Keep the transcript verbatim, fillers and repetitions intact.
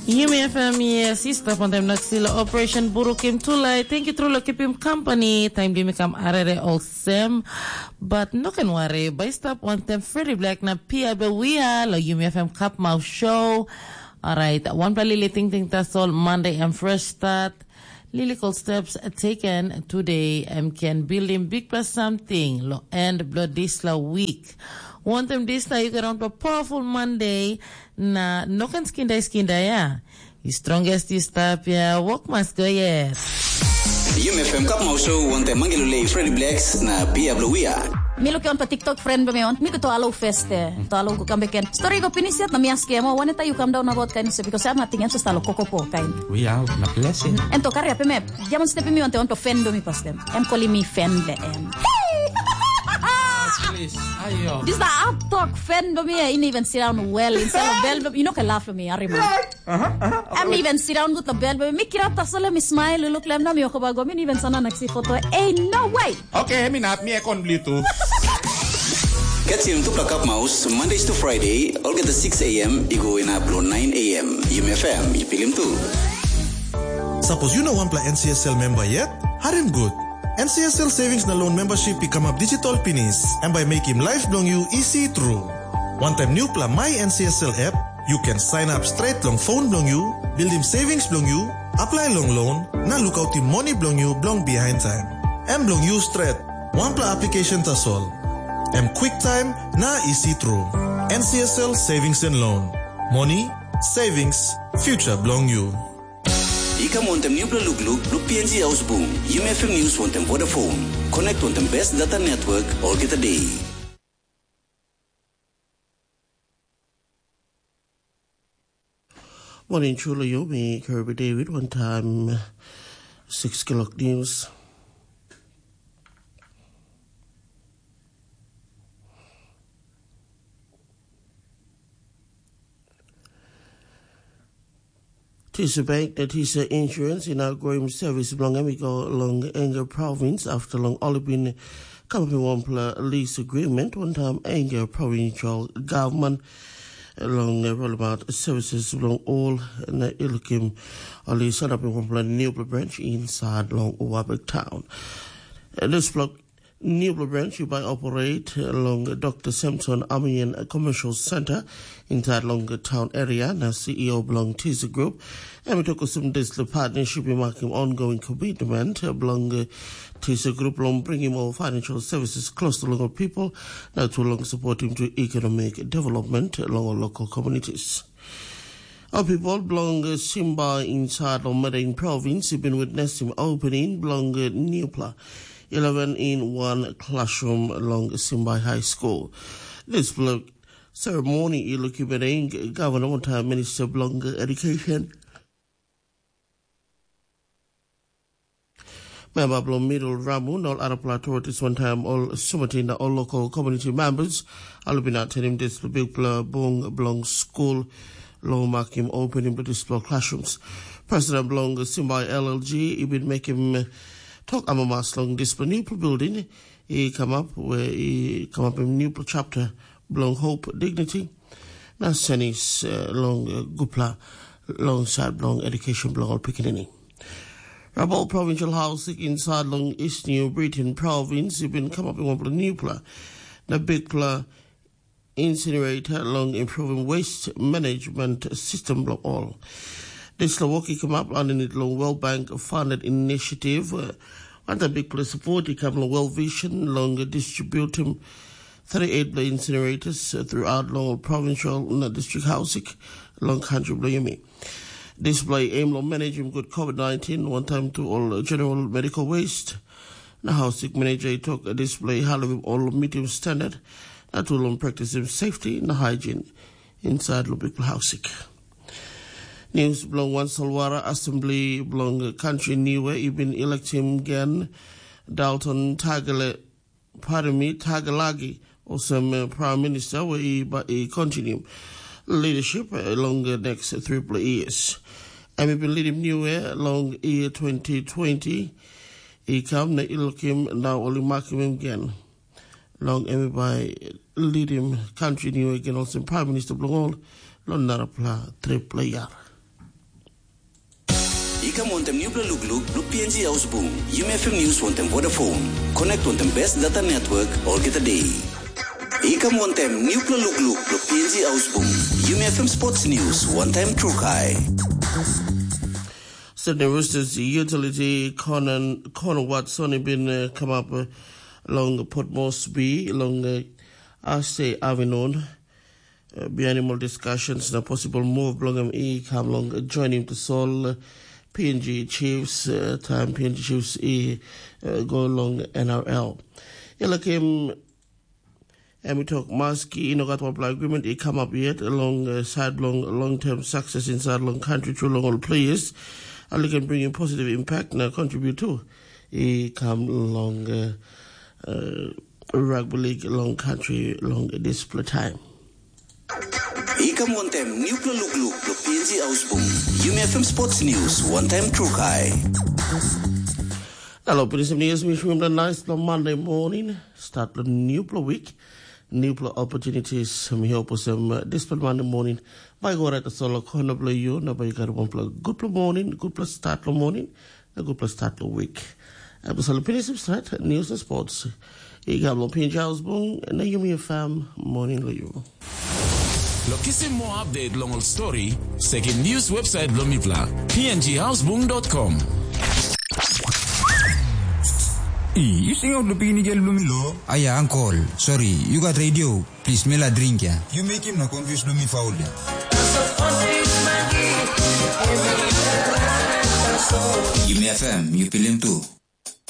Yumi F M, yes, i stap wantaim Naksila Operation Burukim Tulai. Thank you, Trula, kipim company. Time di mi kam arere olsem. But no can worry. By stap wantaim Freddy Black na Pia Bewia lo Yumi F M Cup Mouth Show. Alright, one pla lili ting ting tasol Monday and fresh start. Lyrical steps taken today em ken building big plus something lo end blo disla week. Wantem disla you get on to powerful Monday na no can skin day skin day ya. You strongest you stop ya, walk must go yet. Yumi F M Cup Mouth Show wantem Mangi Lulei, Freddy Blacks na Pia Blue Wia. Mi luke on pa TikTok friend be mi on. Mi kuto alo feste. To alo ku kambe ken. Story go finish yet na mi ask em, oh, waneta you come down about kain se because I'm not thinking just alo kokopo kain. We are na blessing. En to kari ape me. Jamon step mi on te on to fendo mi pastem. Em calling me fende em. Please, ayo. This the up talk fendo mi. I even sit down well instead of bel. You know can laugh for me. Ari man. Em even sit down good lo bel, mi kirap tasole mi smile, look lem na mi okoba go, mi even sana naksi foto. Hey, no way. Okay, mi nap mi ekon bli tu. Catch him to Plakap Mouse, Mondays to Friday, olgeta six a m, i go inap lo nine a m. Yumi F M, i pilim tu. Sapos yu no wanpela N C S L member yet, harim gut. N C S L Savings na Loan Membership i kamap digital pinis, em bai mekim life bilong yu isi tru. Wantaim newpela My N C S L app, you can sign up straight long phone bilong you, buildim savings bilong you, apply long loan, na lukautim moni bilong you bilong behind time. Em bilong you stret, wanpela application tasol. Em quick time na easy tru. N C S L Savings and Loan. Money, savings, future bilong you. I kam wantem newpela lukluk, luk P N G Ausbung, Yumi F M News wantem Vodafone. Connect wantem best data network, olgeta day. Morning, Chula Yomi, Kirby David, one time, six o'clock news. Tisa Bank na Tisa Insurance i na groim service bilong em i go long Enga Province after long ol i bin kamapim wanpela lease agreement wantaim Enga Provincial Government long rollout services bilong ol na i lukim ol i sanapim wanpela newpela branch inside long Wabek Town. Dispela newpela branch i bai operate long Dr. Samson Amian Commercial Center inside long town area na C E O bilong Tisa Group. Em i tok olsem dispela partnership i makim ongoing commitment bilong Tisa Group long bringim ol financial services close to local people na to long supporting to economic development long ol local communities. Ol pipel bilong Simba inside long Madain Province i bin witnesim opening bilong newpela eleven in one classroom long Simba High School. Dispela ceremony i lukim Madain Governor wantaim Minister bilong Education. Memba bilong Middle Ramu na ol arapela authorities wantaim ol sumatin na ol local community members ol bin atenim dispela bikpela bung bilong skul long makim opening bilong dispela classrooms. President bilong Simbai L L G i bin mekim tok amamas long dispela newpela building i kamap we i kamapim newpela chapter bilong hope, dignity na senis uh, long uh, gupla long side bilong education bilong ol pikinini. Rabol Provincial Housing inside long East New Britain Province i bin kamapim wanpela newpela na bikpela incinerator long improving waste management system bilong all. Dispela wok i kamap aninit long World Bank funded initiative. Wantaim bikpela support i kam long World Vision long distributim thirty-eight bla incinerators throughout long provincial na district housing long country bilong yumi. Dispela i aim long managing good COVID nineteen wantaim tu ol general medical waste. Na hausik manager i tok dispela i halivim ol medium standard na tu long practicing safety na hygiene inside long bikpela hausik. News bilong wan solwara assembly bilong country Niue i bin electim gen Dalton Tagele Parimi Tagalagi olsem uh, Prime Minister we i, i continue leadership uh, long the next three years. Em i bin leadim Niue long year twenty twenty i kam na i lukim na ol i makim em gen. Long em i bai leadim country Niue gen olsem Prime Minister bilong ol Long narapela tripela yar. I kam wantaim nupela lukluk bilong P N G Haus Bung, Yumi F M News wantaim Vodafone. Connect wantaim best data network olgeta day. I kam wantaim nupela lukluk bilong P N G Haus Bung, Yumi F M Sports News wantaim Trukai. Sydney Roosters utility Conan Conan Watson i bin uh, come up uh, long Port Moresby long uh, Ase Avinon. Uh, bihainim ol discussions na possible move bilong em i kam long joinim tasol uh, P N G Chiefs uh, taim P N G Chiefs i uh, go long N R L. I lakim em i tok maski i no gat wanpela agreement i come up yet long uh, side long long term success inside long country tru long ol players. I can bring in positive impact na contribute too. I come long uh, uh, rugby league long country long this time. I kam wantaim nupela lukluk bilong P N G Haus Bung, Yumi F M Sports News wantaim Trukai. Hello, Pinisim News, mi shumim da nice long Monday morning. Start long nupela week, nupela opportunities. Mi hope osem uh, this Monday morning. Bai go right asol kona bilong you, na bai you got one gutpela morning, gutpela start long morning, na gutpela start long week. Episode Pinisim Start, News and Sports. I kam long P N G House Bung, na Yumi F M, morning long you. Lo kisim moa update long ol story, sekim news website bilong mipela, p n g housebung dot com. I, yu singaut lo pikinigel bilong mi lo? Aia, ankol, sori, yu gat radio, plis mi la dring ya. Yu mekim na confuse lo mi faul ya. Yumi F M, yu pilim tu.